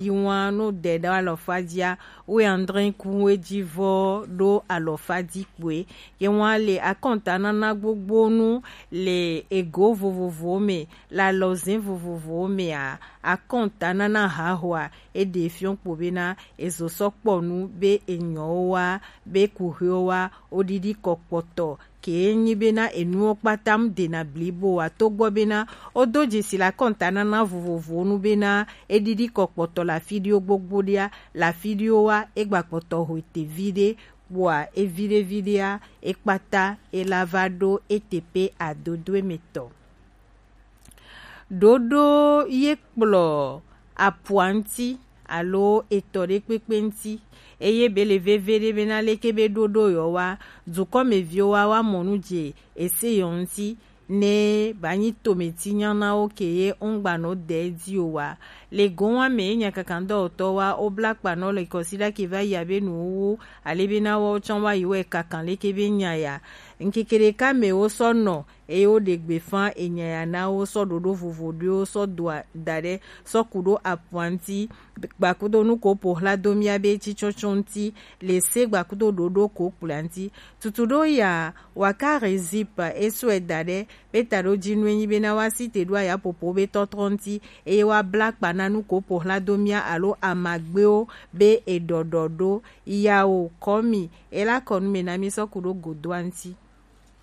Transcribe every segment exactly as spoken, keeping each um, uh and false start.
yi wan no de ɖo alɔfa jia, we andre kun we ji vɔ ɖo alɔfa ji kpoe. Ye wan le akɔnta nana gbogbo nu le ego vovovowo me, le alɔzin vovovowo mea, akɔnta nana hahoa, e ɖe fiɔn kpo bena e zo sɔ kpɔ nu be enyɔwo wa, be kuxewo wa, wo ɖiɖi kɔ kpɔtɔ, ke nyi bena enuwo kpata mu dena blibo wa to gbɔ bena wo do jesi le akɔnta nana vovovowo nu bena e ɖiɖi kɔ kpɔtɔ le afi ɖewo gbogbo ɖea, le afi ɖewo wa e gba kpɔtɔ ho ete viɖe, kpoa e viɖe viɖea e kpata e la va ɖo e teƒe adodoe me tɔ. Ɖoɖo ye kplɔ apua ŋuti alo etɔ ɖekpekpe ŋuti, eye be le veve ɖe bena leke be ɖoɖo yɔ wa, dukɔmeviwo wa wa mɔ nu dze ese yɔ ŋuti, ne ba nyi tometi nyanawo ke ye ŋgba nɔ de di o wa. Le gowa me ye nya kakan dɔwɔtɔ wa wo bla kpa nɔ le kɔsida ke va yi abe nuwo ale bena wo tsɔ wa yi wɛ kakan leke be nya ya. Ŋkeke ɖeka me wo sɔ nɔ eye wo ɖe gbe fã enya ya na wo sɔ ɖoɖo vovo ɖewo sɔ do a- da ɖe sɔ ku ɖo apua ŋuti, gbakudo nu ko po hla do mía be tsitsɔtsɔ ŋuti, le se gbakudo ɖoɖo ko kpla ŋuti. Tutu ɖo ya wa ka rezipa e sɔe da ɖe be ta ɖo ji nu enyi bena wa si te ɖo aya popo be tɔtrɔ ŋuti, eye wa bla kpa na nu ko po hla do mía alo amagbewo be e ɖɔɖɔ ɖo. Yawo kɔmi e la kɔ nu me na mi sɔ ku ɖo godoa ŋuti.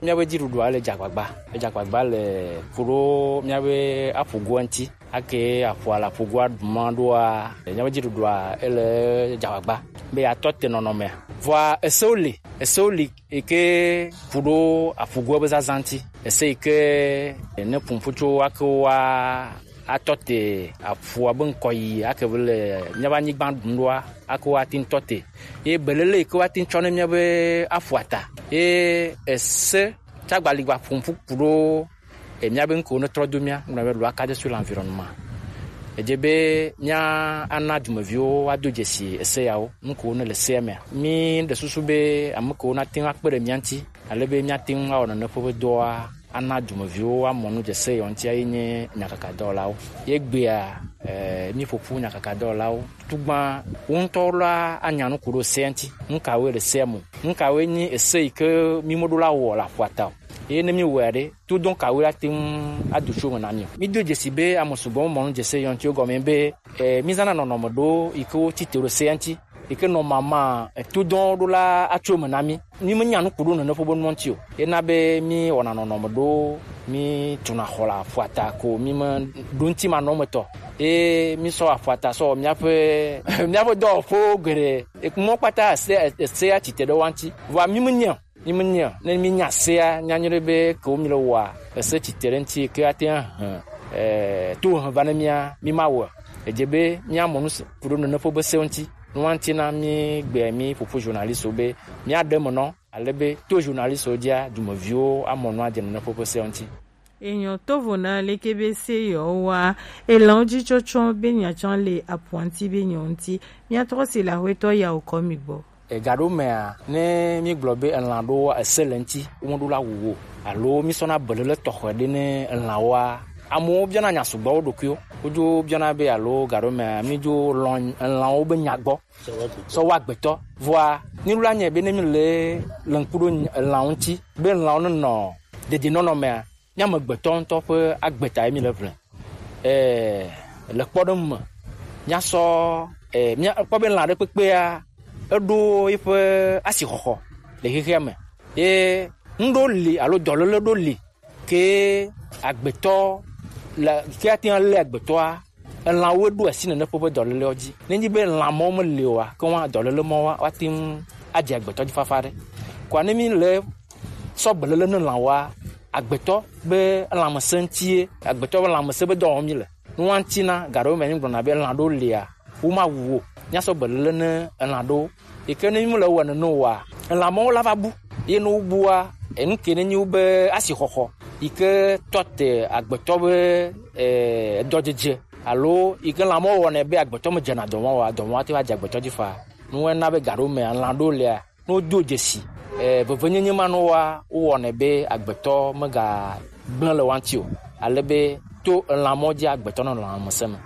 Míaƒe dziɖuɖua le dze agbagba. Edze agbagba le ku ɖo míaƒe aƒugoa ŋuti. Ake aƒua le aƒugoa ɖuma ɖoa, míaƒe dziɖuɖua ele dze agbagba be yeatɔ te nɔnɔmea. Vɔa esewo li, esewo li yi ke ku ɖo aƒugoa be zazã ŋuti. Ese yi ke ne ƒuƒu tso ake wa atɔ te aƒua be ŋkɔ yi ake be le míaƒe anyigba ɖum ɖoa, ake woate ŋu tɔ te. Ye belele yi ke woate ŋu tsɔ ne míaƒe aƒua ta. Ye ese tsagbali gba ƒo ƒu ku ɖo e míabe ŋkewo ne trɔ do mía, ŋgblɔ be loi cadre sur l'environnement. Edze be mía ana dumeviwo woado dzesi ese yawo, nu kewo ne le sea mea. Mí ɖe susu be ame kewo nate ŋu akpe ɖe mía ŋuti, ale be míate ŋu awɔ nane ƒe be dɔa ana dumeviwo woamɔ nu dze se yewo ŋuti ayi nye nyakakadɔwɔlawo. Ye gbea, eh, míƒo ƒu nyakakadɔwɔlawo. Tutugbã wo ŋutɔwo la anya nu ku ɖo sea ŋuti. Nu kawoe le sea me? Nu kawoe nyi ese yi ke mí meɖo la wɔ le aƒua ta o? Eye ne mí wɔe ɖe, to dɔn kawoe la te ŋu ado tso me na mí o? Mí do dzesi be ame sugbɔ mɔ nu dze se yewo ŋuti gɔme be, eh, mí zãna nɔnɔme ɖewo yi ke wo tsi te ɖo sea ŋuti. Yi ke nɔ mama etodɔn ɖo la atso eme na mí. Mí me nya nu ku ɖo nene ƒe be nua ŋuti o. Ena be mí wɔna nɔnɔme ɖo, mí tuna xɔ le aƒua ta ko, mí me ɖo ŋuti manɔmetɔ. Ye mí sɔ aƒua ta sɔ wɔ míaƒe, míaƒe dɔwɔƒewo geɖe. Mɔ kpata ese, ese atsi te ɖe wa ŋuti. Vɔa mí me nya o. Mí me nya o. Ne mí nya sea, mía nyɔ ɖe be ke wo mí le wɔa, ese tsi te ɖe ŋuti ke ate ŋu ahe, eh, to he va ne mía, mí ma wɔe. Edze be mía mɔ nu se, ku ɖo nene ƒe be se ŋuti. Nua ŋuti na mí gbe mí ƒoƒu journaliste be mía ɖe me nɔ, ale be to journaliste dzia, dumeviwo amɔ nua dze nene ƒe be se ŋuti. Enyɔ tovo na leke be se yewo wa, elan wo dzi tsɔtsɔ be nya tsã le apuanti be nyɔ ŋuti. Mía trɔ si le axwetɔ yawo kɔ mi gbɔ. Ega ɖewo mea, ne mígblɔ be elã ɖewo ese le ŋuti, womeɖo la wu wo o. Alo mísɔna belele tɔxɛ ɖe ne elãwoa. Amewo biɔna nya sugbɔ wo ɖokuiwo. Wodzo biɔna be alo ga ɖewo mea, mídzo lɔ̃ elãwo be nya gbɔ sɔ wa agbetɔ. Vɔa, míɖo la nyae be ne míle le ŋku ɖo elãwo ŋuti, be elãwo nenɔ dedienɔnɔ mea, mía amegbetɔ ŋutɔ ƒe agbe ta ye míle ʋlɛ. Ɛɛ, le kpɔɖeŋu me, míasɔ, ɛɛ, míakpɔ be lã ɖe kpekpea, eɖo eƒe asixɔxɔ le xexea me. Ye ŋɖewo li alo dɔléle ɖewo li ke agbetɔ le, ke ate ŋu alé agbetɔa, elãwoe ɖo asi nene ƒe ƒe dɔlélewo dzi. Nenye be lã mawo meli oa, ke woa dɔléle mawo woa, woate ŋu adze agbetɔ dzi fafa ɖe. Kɔa ne míle sɔ beléle ne lãwoa, agbetɔ be lãmesẽ ŋutie, agbetɔ be lãmesẽ be dɔ wɔm míle. Nua ŋuti na, ga ɖewo me mígblɔna be lã ɖewo lia, womawu wo. Míasɔ beléle ne elã ɖewo. Yi ke ne mímele wɔe nene oa, elã mawo la va bu. Ye ne wobua, enu ke nenye wobe asixɔxɔ yi ke tɔ te agbetɔ be, eh, dɔdzedze alo yi ke lã mawo wɔnɛ be agbetɔ medzena dɔ mawo oa, dɔ mawo ate ŋu adze agbetɔ dzi faa. Nua na be ga ɖewo mea, lã ɖewo lia, ne wodo dzesi, eh, vevenyenye ma nɔ woa, wowɔnɛ be agbetɔ megagblẽ le woa ŋuti o. Ale be to elã mawo dzi agbetɔ nɔ lãmesẽ me.